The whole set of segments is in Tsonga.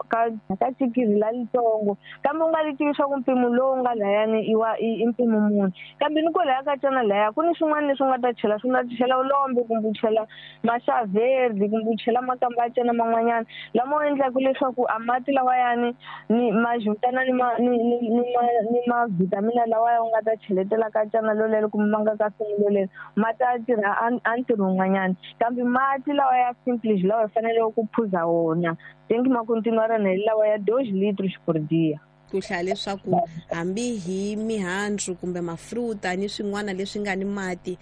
ka ka chikiri la litsongo kambe u nga li tivi swa ku mpimo lowu nga layani i wa i mpimo muni kambe ni kwalaya ka cana laya ku ni swin'wana leswi u nga ta chela swi nga chela ulombe kumbe u chela maxaverdi kumbe u chela makamba ya cana man'wanyana lama u endlaka leswaku a mati lawayani ni ma juntana ni ma ni ni ni ma ni ma-vitamin lawaya u nga ta cheletela ka cana lolelo kumbe ma nga ka simu lolelo ma ta tirha a ntirho wun'wanyana kambe mati lawa ya simples lawa hi faneleke ku phuza wona tem que ma continuar na lawa ya 2 litros por dia. Ku hlaya leswaku hambi hi mihandzu kumbe mafruta ni swin'wana leswi nga ni mati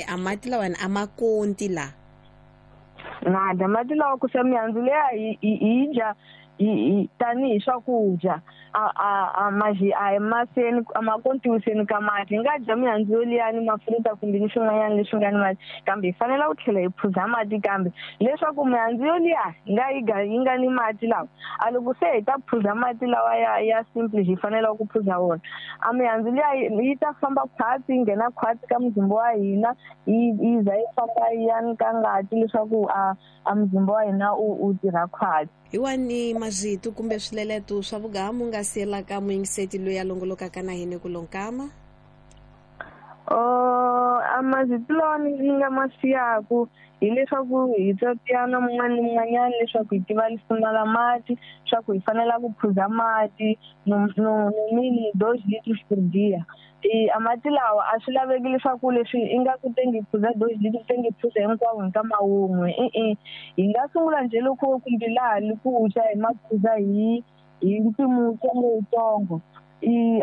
a mati lawani a ma konti la nada mati lawa ku sa mihandzu leya hi dya tanihi swakudya a maji a hi maseni a ma kontiwiseni ka mati hi nga dya mihandzu yoliyani mafruta kumbe ni swin'wanyana leswi nga ni mati kambe hi fanele ku tlhela hi phuza mati kambe leswaku mihandzu yoliya hi nga yi ga yi nga ni mati lawa a loko se hi ta phuza mati lawa ya simple hi fanele ku phuza wona a mihandzu liya yi ta famba khwatsi yi nghena khwatsi ka muzimba wa hina yi za yi famba yi ya ka ngati leswaku a muzimba wa hina u tirha khwatsi. Hi wani mazito kumbe swileleto swa vugamu nga siyelaka muyingiseti loyi a longolokaka na hina ku lonkama? A mazito lawa ni nga ma siyaku hileswaku hi tsatiyana mun'wana ni mun'wanyana leswaku hi tiva lisima la mati swa ku hi fanela ku phuza mati no no mini 2 litros por dia. A mati lawa a swi laveki leswaku leswi i nga ku tengi phuza 2 litros tengi phuza hinkwawo hi nkama wun'we e-e hi nga sungula njhe loko kumbe laha li ku dya hi ma phuza hi mpimo wutsongo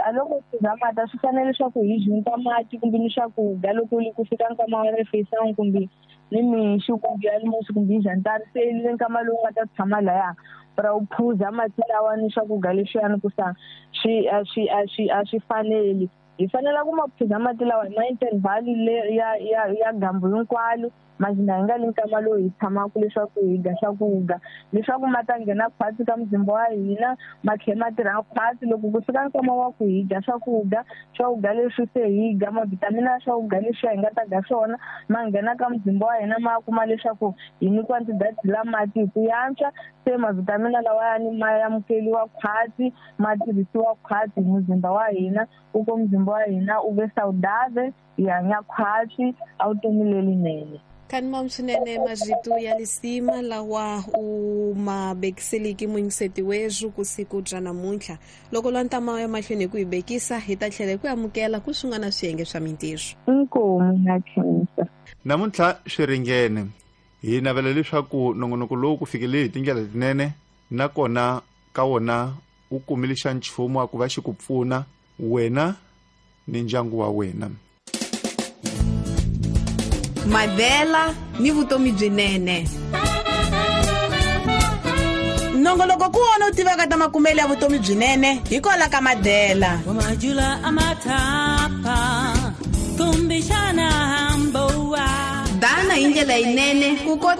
a loko phuza mati a swi fanele leswaku hi junta mati kumbe ni swakudya loko li ku fika nkama wa refeição kumbe ni mixo kumbe almoço kumbe jantar se le nkama lowu nga ta tshama laya pra u phuza mati lawa ni swakudya leswiyani ku sa swi a swi a swi a swi faneli hi fanela ku ma phuza mati lawa hi ma interval ya gambu hinkwalo mazina hi nga li nkama lowu hi tshamaka leswaku hi dya swakudya leswaku ma ta nghena khwatsi ka muzimba wa hina ma tlhela ma tirha khwatsi loko ku fika nkama wa ku hi dya swakudya swakudya leswi se hi dya mavhitamini ya swakudya leswi hi nga ta dya swona ma nghena ka muzimba wa hina ma kuma leswaku hi ni quantidade la mati hi ku yantswa se mavhitamini lawayani ma amukeliwa khwatsi ma tirhisiwa khwatsi hi muzimba wa hina ku ko muzimba wa hina u ve saudável hi hanya khwatsi a vutomi lelinene. Kani swinene mazito ya lisima lawa u ma bekiseliki muyingiseti wethu ku siku bya namuntlha loko lwa ntama ya mahlweni hi ku hi bekisa hi ta tlhela hi ku amukela ku swin'wana swiyenge swa mintirho. Inkomu na khensa. Namuntlha swi ringene hi navela leswaku nongonoko lowu ku fikele hi tindlela letinene nakona ka wona u kumile xa nchumu wa ku va xi ku pfuna wena ni ndyangu wa wena. Madela ni vutomi byinene. Nongoloko ku wona u tivaka ta makumelo ya vutomi byinene hikwalaho ka Madela. Dana hi ndlela yinene ku